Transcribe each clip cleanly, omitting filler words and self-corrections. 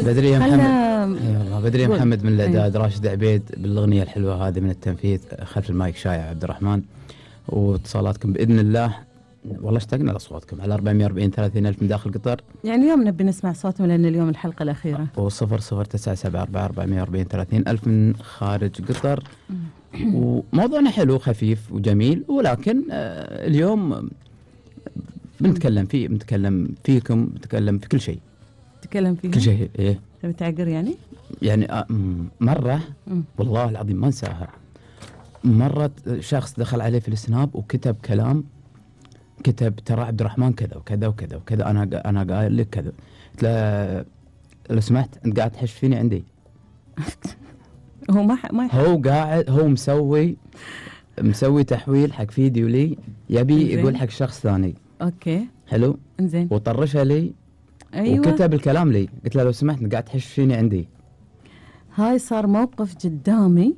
بدري يا محمد. اي والله بدري يا محمد من الاعداد، راشد عبيد بالاغنيه الحلوه هذه من التنفيذ، خلف المايك شايع عبد الرحمن. واتصالاتكم باذن الله، والله اشتقنا لاصواتكم على 440 30 الف من داخل قطر. يعني اليوم نبي نسمع صوتهم لان اليوم الحلقه الاخيره. و00974 30 الف من خارج قطر. وموضوعنا حلو خفيف وجميل، ولكن اليوم بنتكلم فيكم، بنتكلم في كل شيء. تتكلم فيه كل شيء. ايه تبي تعقر يعني مره والله العظيم ما انساها. مرة شخص دخل عليه في السناب وكتب كلام، كتب ترى عبد الرحمن كذا وكذا وكذا وكذا، انا قايل لك كذا. قلت له لو سمحت انت قاعد تحش فيني عندي. هو ما هو قاعد، هو مسوي تحويل حق فيديو لي، يبي يقول حق شخص ثاني. اوكي حلو انزين، وطرشها لي. ايوه وكتب الكلام لي. قلت له لو سمحت انت قاعد تحش فيني عندي. هاي صار موقف قدامي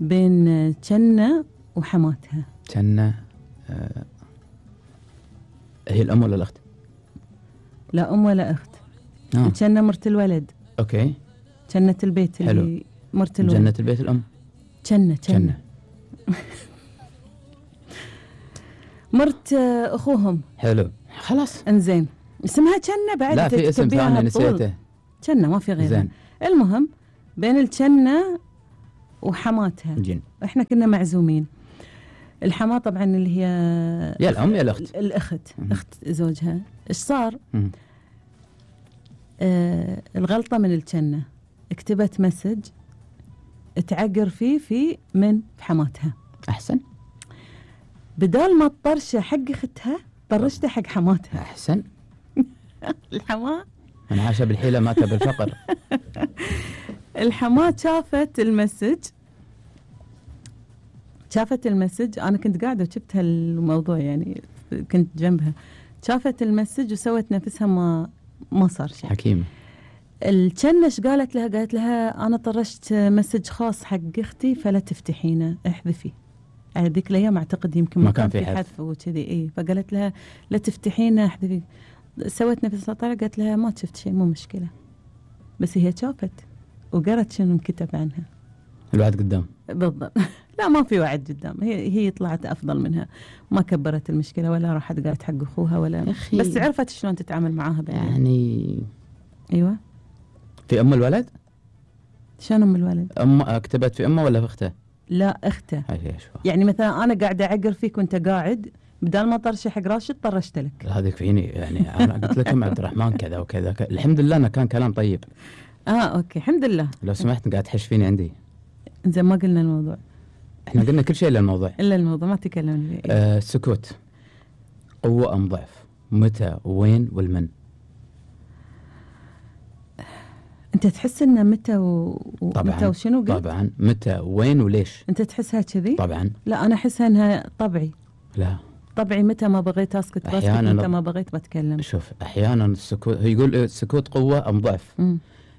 بين جنة وحماتها. جنة هي الأم ولا الأخت؟ لا أم ولا أخت. جنة مرت الولد. أوكي. جنة البيت حلو. اللي مرت الولد. جنة البيت الأم. جنة مرت أخوهم. حلو خلاص. انزين اسمها جنة بعد. لا في اسم ثاني نسيته. جنة ما في غيرها. المهم بين الجنة وحماتها. جن. احنا كنا معزومين. الحماة طبعا اللي هي يا الأم يا الأخت. الأخت. أخت زوجها. إيش صار؟ الغلطة من الجنة، اكتبت مسج تعقر فيه من حماتها. أحسن. بدال ما تطرشه حق أختها طرشته حق حماتها. أحسن. الحماة من عاش بالحيلة مات بالفقر. الحماة شافت المسج، أنا كنت قاعدة وشفت هالموضوع يعني كنت جنبها. شافت المسج وسوت نفسها ما صار شيء. حكيمة. الجنة قالت لها أنا طرشت مسج خاص حق أختي فلا تفتحينه، احذفي. هذيك الأيام أعتقد يمكن ما كان في حذف وكذي. إيه فقالت لها لا تفتحينه احذفي. سوت نفسها طالعة، قالت لها ما شفت شيء مو مشكلة. بس هي شافت وقرأت شنو انكتب عنها. الوعد قدام. بالضبط. لا ما في وعد قدام، هي طلعت أفضل منها، ما كبرت المشكلة ولا راحت قالت حق أخوها ولا، بس عرفت شلون تتعامل معاها يعني. أيوة. في أم الولد؟ شلون أم الولد؟ كتبت في أمه ولا في أخته؟ لا أخته. يعني مثلا أنا قاعدة أعقر فيك وأنت قاعد، بدال ما طرشي حق راشد طرشت لك. هذيك فيني يعني. أنا قلت لكم عبد الرحمن كذا وكذا الحمد لله أنا كان كلام طيب. أوكي الحمد لله. لو سمحت قاعد تحش فيني عندي. زين ما قلنا الموضوع. احنا قلنا كل شيء إلا الموضوع. إلا الموضوع ما تكلمنا فيه. السكوت قوة أم ضعف؟ متى وين والمن؟ أنت تحس إنه متى متى وشنو قلت؟ طبعا متى وين وليش؟ أنت تحسها كذي؟ طبعا. لا أنا أحسها إنها طبعي. لا طبعي متى ما بغيت أسكت بسكت، متى ما بغيت بتكلم. شوف أحيانا السكوت، هو يقول السكوت قوة أم ضعف.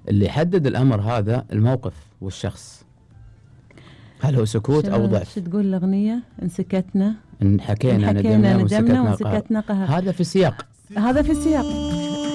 اللي يحدد الأمر هذا الموقف والشخص، هل هو سكوت أو ضعف. شو تقول الأغنية؟ إن سكتنا إن حكينا ندمنا وسكتنا قهر. هذا في السياق.